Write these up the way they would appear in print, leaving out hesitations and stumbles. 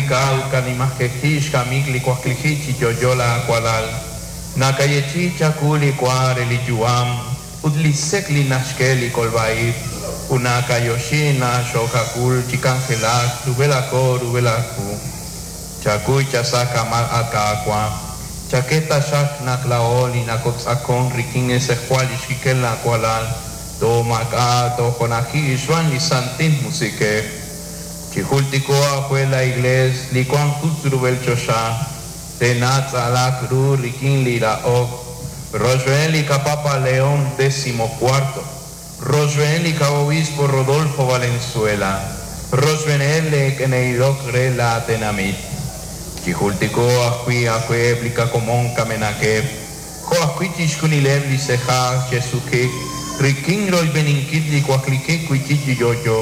Kajultika ut kanimajeji xkamik li waklijik chi yo'yo laawalal. Nakayeechi'i chawu li wa re li yu'am ut li sek' li naxk'e li kolb'a-ib', ut nakayoxi naq xoohak'ul chi k'anjelak rub'el aawo rub'el aawu. Chakuy chasa' kamal at Qaawa', chak'e taxaq naq laa'o li nakotz'aqon rik'in xtz'ejwal li xkik'el laawalal, toomaak'a' toojunaji xb'aan li Santil Musiq'ej. Chijultiko'q aawe la Iglees li wank rub'el choxa, te'natz'alaq ru rik'in li rahok, rochb'een li qaPapa León XIV, rochb'een li qaObispo Rodolfo Valenzuela, rochb'eeneb' li ke'ilok re la tenamit. Chijultiko'q ajwi' aawe li qakomon kamenaqeb', jo' ajwi' chixjunileb' li se'aj xe'suk'ik rik'in royb'eninkil li waklijik wi'chik chi yo'yo,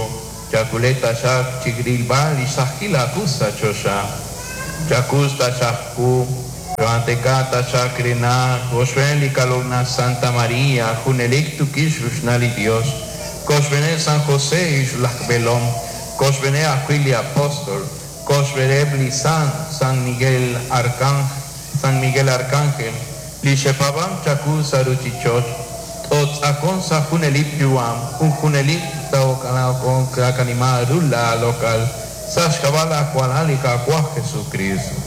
chak'uleb' taxaq chirilb'al li xsahil aawu sa' choxa. Chakuy taxaq qu, choohaatenq'a taxaq re naq rochb'een li qaloq'laj Santa María junelik tukix ruxnal li Dios, koxb'eeneb' San José laj b'eelom, koxb'eeneb' ajwi' li apóstol, koxb'eeneb' li San, San Miguel Arcángel, San Miguel Arcángel, li xe'paab'ank chawu sa' ruuchich'och', tootz'aqonq sa' junelik yu'am ut junelik taqanima ru laaloq'al sa' xk'ab'a' laawalal li Qaawa' Jesucristo.